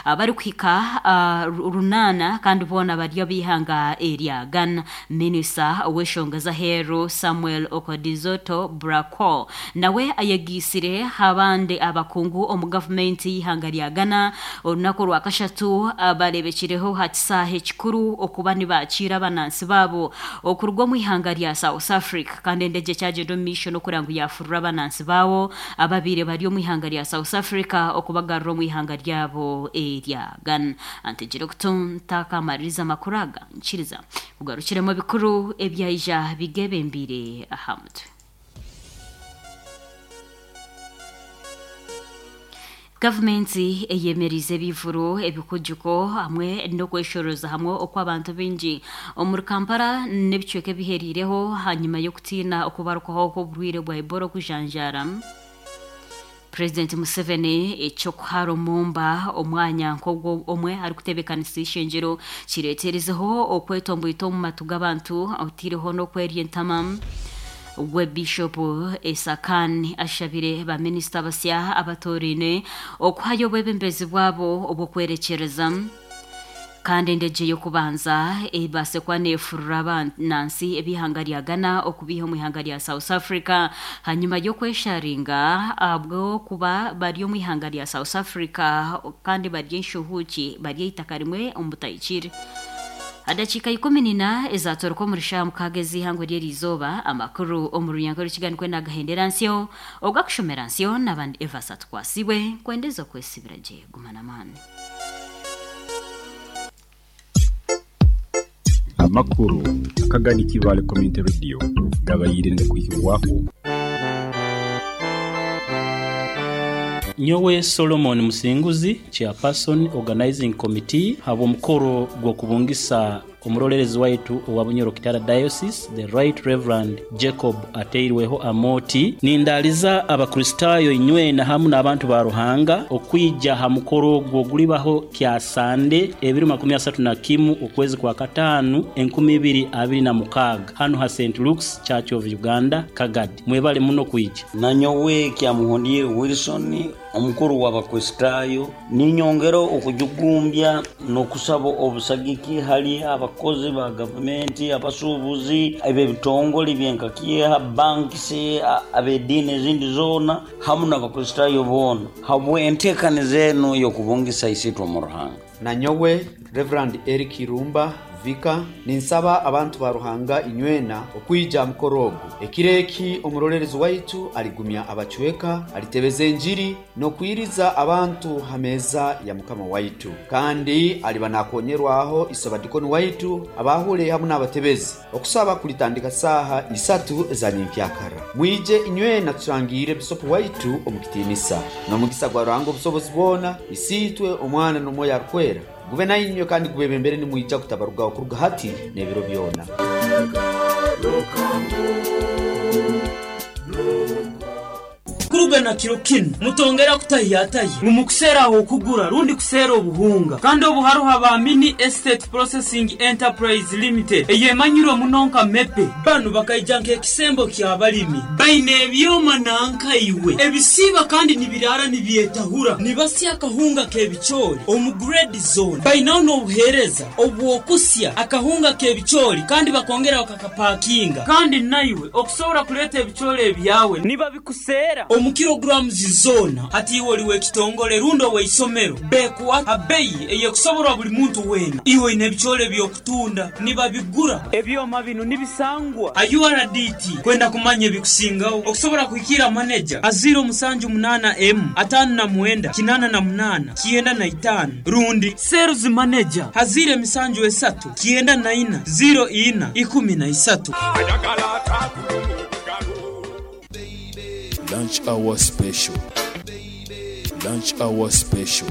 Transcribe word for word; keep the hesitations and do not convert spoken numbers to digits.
Abarikuhika uh, runana kandi boona bari ab'ihanga erya Ghana. Minisita w'enshonga z'aheeru Samuel Okudzeto Ablakwa nawe ayegiisire abandi abakungu omu gavumenti y'ihanga rya Ghana olunaku rwa kashatu barebekireho ha kisaaha ekikuru okuba nibakiira abanansi baabo okuruga omu ihanga rya South Africa. Kandi endege ekyagenda omu maisho n'okureba ngu yafurura abanansi baabo ababiire bari omu ihanga rya South Africa okubagarura omu ihanga ryabo erya Ghana. Antegire okutunta kamaririza amakuru aga nkiriza kugarukiremu ebikuru ebyaija bigebembire aha mutwe. Gavumenti eyemerize ebivuro ebikujuko hamwe n'okweshoroza hamwe okw'abantu baingi omuri Kampala n'ebicweka ebiheriireho hanyuma y'okutiina okubarukaho kw'oburwaire bwa Ebola okujanjaara. President Museveni ekyokuhara omumba omwanya nk'ogwo omwe arikutebeekanisa ishengyero kireeterezeho okwetomboita omu matu g'abantu otiireho n'okwerya entama. We Bishop Esakan ashabire baminisita basya abatoraine okuhayo obwebembezi bwabo obw'okwerekyereza. Kandi endege y'okubanza ebaase kuba neefurura abanansi ebihanga rya Ghana okubiiha omu ihanga rya South Africa hanyuma y'okwesharinga ahabw'okuba bari omu ihanga rya South Africa kandi bari enshuhuuki bari eitaka rimwe omu butahikire. Adakiika ikumi nina ezatoroka omuri shaaha mukaaga ez'ihangwe ry'erizooba amakuru omu runyanka rw'ekiganiro kwenda agahendera nsyo ogakushomera nsyo n'abandi Evas atukwasibwe kwendeza okwesibira gye gumana amaani. Amakuru akagani Kibale Community Radio gabayire ngakwihibwaho. Nyowe Solomon Musinguzi, chairperson organizing committee, habw'omukoro gw'okubungisa omurolerezi waitu owa Bunyoro Kitara Diocese, the Right Reverend Jacob Ateirweho Amoti. Nindaliza Abakristaayo inywena hamu n'abantu ba Ruhanga okwija ha mukoro ogwo ogulibaho kya Sande ebiro makumi asatu na kimu okwezi kwa kataano enkumi ibiri abiri na mukaaga hanu ha Saint Luke's Church of Uganda Kagadi. Mwebale muno kwija. Nanyowe Kyamuhondire Wilson, omukuru w'Abakristaayo, ninyongera okujugumbya n'okusaba obusagiki hali abakozi ba gavumenti, abasuubuzi, eb'ebitongole byenkakyeha, bankisi, ab'ediini ezindi zoona hamu n'Abakristaayo boona habw'enteekaniza enu y'okubungisa Isiitwe omu Ruhanga. Nanyowe Reverend Eric Irumba Vika, ninsaba abantu ba Ruhanga inywena okwija mukoro ogu. Ekiro eki omurolerezi waitu aligumya abacweka, alitebeza enjiri n'okwiriza abantu ha meeza ya Mukama waitu. Kandi aliba nakonyerwaho isabadikoni waitu abahule hamu n'abatebezi. Okusaba kulitandika saaha isatu eza nyenkyakara. Mwije inywena turangiire bisopu waitu omu kitiinisa. N'omugisa gwa Ruhanga obusobozi bwona, Isiitwe, Omwana n'Omwoyo Arukwera gube nainywe kandi gubebembere nimwija kutabarugaho kuruga hati n'ebiro byona. Kuruga na kiro kinu mutongera kutahiyatahi mumukuseeraho okugura rundi kuseera obuhunga. Kandi obu haruho ba Mini Estate Processing Enterprise Limited eyemanyirwe muno nka MEPE. Banu bakaija nk'ekisembo ky'abalimi baine ebyoma nankaiwe ebisiiba kandi nibirara nibyetahura nibasya akahunga k'ebicoori omu grade zone. Bainaho n'obuheereza obw'okusya akahunga k'ebicoori kandi bakongera bakakapakinga. Kandi naiwe okusobora kuleeta ebicoori ebyawe nibabikuseera omu kilograms zona. Hati iwe oli w'ekitongole rundi ow'eisomero bekuwa abeyi eyekusoborwa buli muntu weena. Iwe oine ebicoori eby'okutunda nibabigura. Ebyoma binu nibisangwa a U R D T. Kwenda kumanya ebikusingaho okusobora kuhikira maneja a ziro musanju munana emu atano na mwenda kinana na munana kienda na itaano rundi sales manager a ziro emisanju esatu kienda na ina ziro ina ikumi na isatu. Lunch hour special. Lunch hour special.